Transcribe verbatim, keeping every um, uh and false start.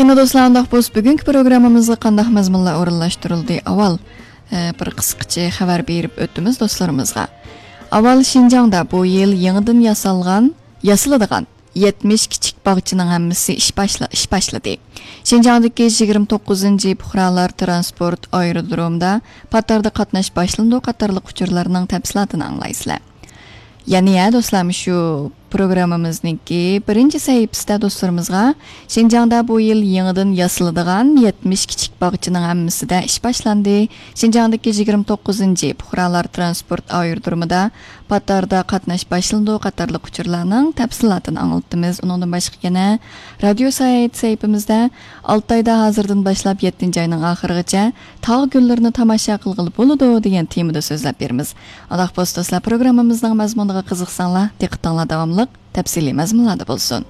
يەنە دوستلار، ئانداق بولسا بۈگۈنكى پروگراممىمىزغا قانداق مەزمۇنلار ئورۇنلاشتۇرۇلدى؟ ئاۋۋال، ئە، بىر قىسقىچە خەۋەر بېرىپ ئۆتىمىز دوستلىرىمىزغا. ئاۋۋال شىنجاڭدا بۇ يىل يېڭىدىن ياسالغان، ياسىلىدىغان يەتمىش كىچىك باغچىنىڭ ھەممىسى ئىش باشلا-، ئىش باشلىدى. شىنجاڭدىكى يىگىرمە توققۇزىنچى پۇقرالار تىرانسپورت ئايرودرومىدا پاتاردا قاتناش باشلىنىدۇ قاتارلىق ئۇچۇرلارنىڭ تەپسىلاتىنى ئاڭلايسىلەر. يەنە يە دوستلار، مۇشۇ پروگراممىمىزنىڭكى بىرىنچى سەھىپىسىدە دوستلىرىمىزغا شىنجاڭدا بۇ يىل يېڭىدىن ياسىلىدىغان يەتمىش كىچىك باغچىنىڭ ھەممىسىدە ئىش باشلاندى. شىنجاڭدىكى يىگىرمە توققۇزىنچى پۇقرالار تىرانسپورت ئايرودرومىدا پاتاردا قاتناش باشلىنىدۇ قاتارلىق ئۇچۇرلارنىڭ تەپسىلاتىنى ئاڭلىتىمىز. ئۇنىڭدىن باشقا يەنە رادىيو ساياھىتى سەھىپىمىزدە ئالتە ئايدا ھازىردىن باشلاپ يەتتىنچى ئاينىڭ ئاخىرىغىچە تاغ گۈللىرىنى تاماشا قىلغىلى بولىدۇ دېگەن تېمىدا سۆزلەپ بېرىمىز. ئانداق بولسا دوستلار، پروگراممىمىزنىڭ مەزمۇنىغا قىزىقساڭلار، دىققىتىڭلار داۋاملىق تەپسىلىي مەزمۇنلاردا بولسۇن.